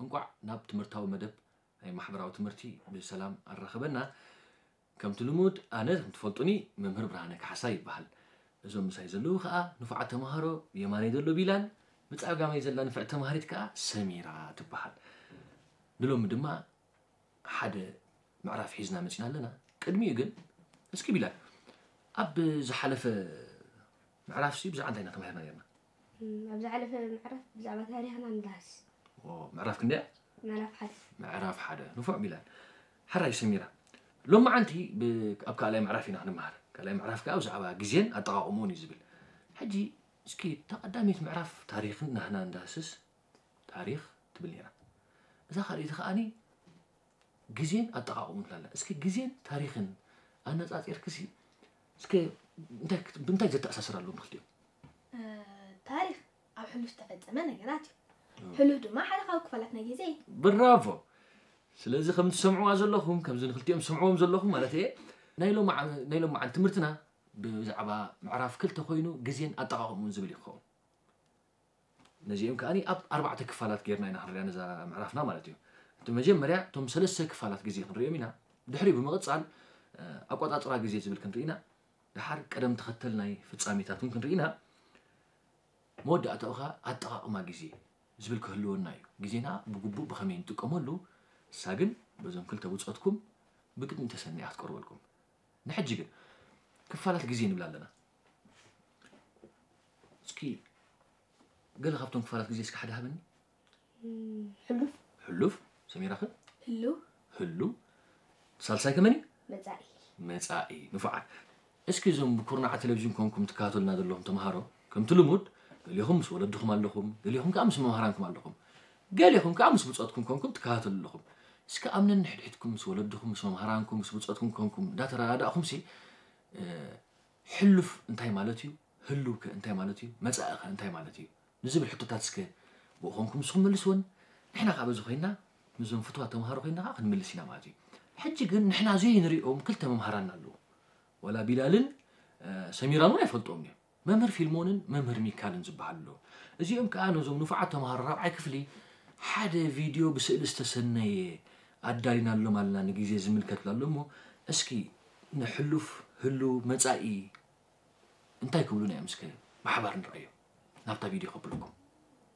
እንቋዕ ናብ ትምህርታዊ መደብ ናይ ማሕበራዊ ትምህርቲ ብሰላም ኣራኸበና። ከምቲ ልሙድ ኣነ ከም ትፈልጡኒ መምህር ብርሃነ ካሕሳ ይበሃል። እዞም ምሳይ ዘለዉ ከዓ ንፉዓት ተምሃሮ፣ ብየማነይ ዘሎ ቢላል፣ ብፀጋመይ ዘላ ንፍዕቲ ተምሃሪት ከዓ ሰሚራ ትበሃል። ንሎሚ ድማ ሓደ ምዕራፍ ሒዝና መፂና ኣለና። ቅድሚኡ ግን እስኪ ቢላል ኣብ ዝሓለፈ ምዕራፍሲ ብዛዕባ እንታይ ኢና ተማሂርና ነርና? ኣብ ዝሓለፈ ምዕራፍ ብዛዕባ ታሪኽና ንዳህስ። ምዕራፍ ክንደያ? ምዕራፍ ሓደ። ምዕራፍ ሓደ። ንፉዕ ቢላል። ሕራይ ሰሚራ፣ ሎማዓንቲ ኣብ ካልኣይ ምዕራፍ ኢና ክንመሃር። ካልኣይ ምዕራፍ ከዓ ብዛዕባ ግዜን ኣጠቓቕምኡን እዩ ዝብል። ሕጂ እስኪ እታ ቀዳመይቲ ምዕራፍ ታሪኽን ናህና እንዳህስስ ታሪኽ ትብል ነይራ። እዛ ካልኣይቲ ከዓኒ ግዜን ኣጠቓቕምኡን ትላላ። እስኪ ግዜን ታሪኽን ኣነፃፂርክሲ እስከ እንታይ ክት- ብምንታይ ዘተኣሳስር ኣለዎም ክልቲኦም? ታሪኽ ኣብ ሕሉፍ ዝተፈፀመ ነገራት እዩ። ሕሉፍ ድማ ሓደ ካብ ክፋላት ናይ ግዜ እዩ። ብራቮ። ስለዚ ከም ትሰምዕዋ ዘለኹም ከምዚ ንክልቲኦም ትሰምዕዎም ዘለኹም ማለት እየ። ናይ ሎማዓ- ናይ ሎማዓን ትምህርትና ብዛዕባ ምዕራፍ ክልተ ኮይኑ ግዜን ኣጠቓቕምኡን ዝብል ይኸውን። ነዚኦም ከዓኒ ኣብ ኣርባዕተ ክፋላት ጌርና ኢና ክንሪኣ ነዛ ምዕራፍና ማለት እዩ። እቲ መጀመርያ እቶም ሰለስተ ክፋላት ግዜ ክንሪኦም ኢና። ድሕሪኡ ብምቕፃል ኣቆፃፅራ ግዜ ዝብል ክንርኢ ኢና። ድሓር ቀደም ተኸተል ናይ ፍፃሜታት እውን ክንርኢ ኢና። መወዳእታኡ ከዓ ኣጠቓቕማ ግዜ ዝብል ክህልወና እዩ። ግዜና ብግቡእ ብኸመይ ንጥቀመሉ እሳ ግን በዞም ክልተ ብፆትኩም ብቅድሚ ተሰኒያ ክትቀርበልኩም። ንሕጂ ግን ክፋላት ግዜ ንብል ኣለና። እስኪ ገለ ካብቶም ክፋላት ግዜ እስኪ ሓደ ሃበኒ። ሕሉፍ ሕሉፍ ሰሚራኸ? ህሉው ህሉ ሳልሳይ ከመን እዩ? መፃኢ መፃኢ። ንፉዓት። እስኪ እዞም ብኩርናዕ ቴሌቪዥን ኮንኩም ትከታተሉና ዘለኹም ተምሃሮ ከምቲ ልሙድ ገሊኹም ምስ ወለድኹም ኣለኹም፣ ገሊኹም ከዓ ምስ መምሃራንኩም ኣለኹም፣ ገሊኹም ከዓ ምስ ብፆትኩም ኮንኩም ትከታተሉ ኣለኹም። እስኪ ኣብ ነንሕድሕድኩም ምስ ወለድኹም ምስ መምሃራንኩም ምስ ብፆትኩም ኮንኩም እንዳተረዳዳእኹም ሲ ሕሉፍ እንታይ ማለት እዩ፣ ህሉው ከ እንታይ ማለት እዩ፣ መፃኢ ከ እንታይ ማለት እዩ ንዝብል ሕቶታት እስከ ብኡ ኮንኩም ንስኹም መልስወን። ንሕና ከዓ በዚ ኮይና ምስዞም ፍትዋት ተምሃሮ ኮይና ከዓ ክንምልስ ኢና ማለት እዩ። ሕጂ ግን ንሕና ዘይንሪኦም ክልተ መምሃራና ኣለዉ። ወላ ቢላልን ሰሚራን እውን ኣይፈልጥዎም እዮም። መምህር ፊልሞንን መምህር ሚካልን ዝበሃሉ ኣለዉ። እዚኦም ከዓ ነዞም ንፉዓት ተምሃሮ ራብዓይ ክፍሊ ሓደ ቪድዮ ብስእሊ ዝተሰነየ ኣዳሊናሎም ኣለና ንግዜ ዝምልከት ብላ ኣሎ እሞ እስኪ ንሕሉፍ ህሉው መፃኢ እንታይ ክብሉና እዮም እስከ ብሓባር ንርኣዮ። ናብታ ቪድዮ ከብለኩም።